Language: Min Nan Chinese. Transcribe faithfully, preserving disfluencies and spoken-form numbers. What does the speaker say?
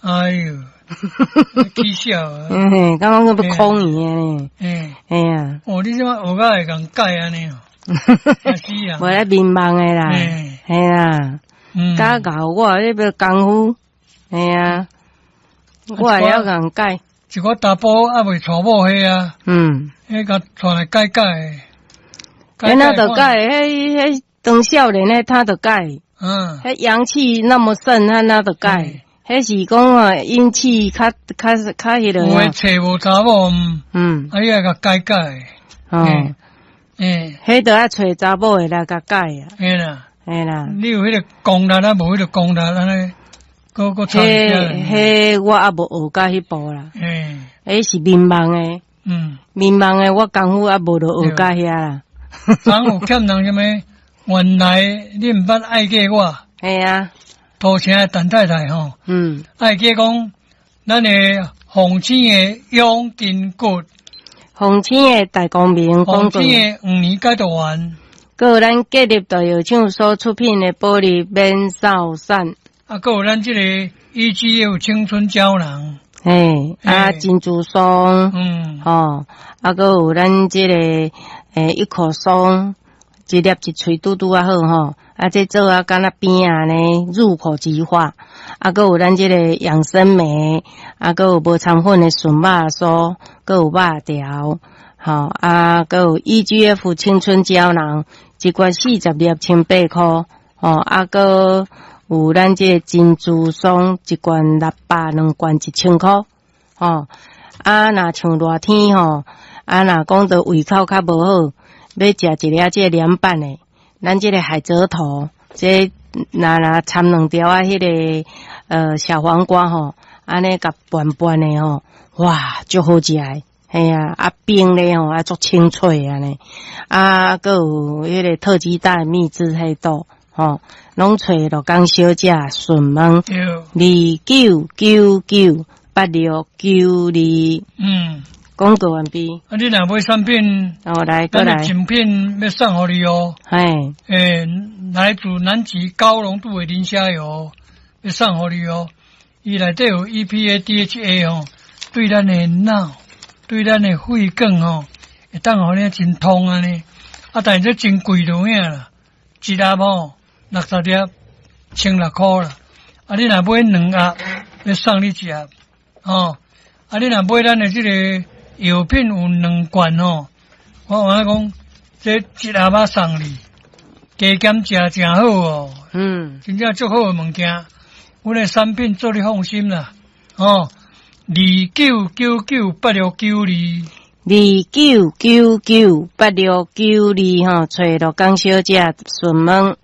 哎喲，起笑啊！嗯嘿，感覺講欲空去呢。欸，嘿啊。哦，你這擺學甲會共改按呢哦？嚇死人！無咧眠夢的啦，嘿啊，教教我這個功夫，嘿啊，我會曉共改。一個查埔猶未娶某彼啊，嗯，彼共帶來改改。彼哪著改，彼彼當少年彼他著改。嗯，彼陽氣那麼盛，彼哪著改。彼是講啊，陰氣較較較彼個。有的揣無查某，嗯，啊，伊愛共改改。哦，欸，彼著愛揣查某的來共改啊。嘿啦，嘿啦。你有彼個功力啊？無彼個功力按呢？閣閣差彼彼我猶無學到彼步啦。欸，彼是眠夢的。嗯，眠夢的我功夫猶無落學到遐啦。昨有欠人啥物？原來你毋捌愛過我。嘿啊。土城的陳太太吼，嗯，愛記講，咱的鳳青的養筋骨，鳳青的大光明，鳳青的黃連解毒丸，閣有咱建立大藥廠所出品的保利免掃散，啊，閣有咱這個 E G F 青春膠囊，嘿，啊珍珠霜，嗯，吼，啊，閣有咱這個欸一口松，一粒一喙拄拄仔好吼。啊，這做啊，敢若餅仔呢，入口即化。啊，閣有咱這個養生酶，啊，閣有無摻粉的純肉酥，閣有肉條，吼，啊，閣有 E G F 青春膠囊，一罐四十粒，千八箍，吼，啊，閣有咱這個珍珠霜，一罐六百，兩罐一千箍，吼，啊，若像熱天吼，啊，若講著胃口較無好，欲食一粒這個涼拌的。咱這個海蜇頭，這若若摻兩條仔彼個呃小黃瓜吼，按呢共拌拌的吼，哇，足好食的，嘿啊，啊冰咧吼，啊足清脆按呢，啊，閣有彼個特級大秘製黑豆，吼，攏揣鹿港小姐順問二九九九八六九二，嗯。廣告完畢。啊，你若買產品，哦，來，過來。贈品欲送予你哦。嘿。欸，來自南極高濃度的磷蝦油，欲送予你哦。伊內底有 E P A、D H A 吼，對咱的腦，對咱的血管吼，會當予你真通按呢。啊，但是這真貴就有影啦，一盒吼六十粒，千六箍啦。啊，你若買兩盒，欲送你一盒，吼。啊，你若買咱的這個藥品有兩罐吼，我有影講，這一盒仔送你，加減食誠好哦。嗯，真正足好的物件，阮的產品做你放心啦。哦，二九九九八六九二，二九九九八六九二吼，揣鹿港小姐順問。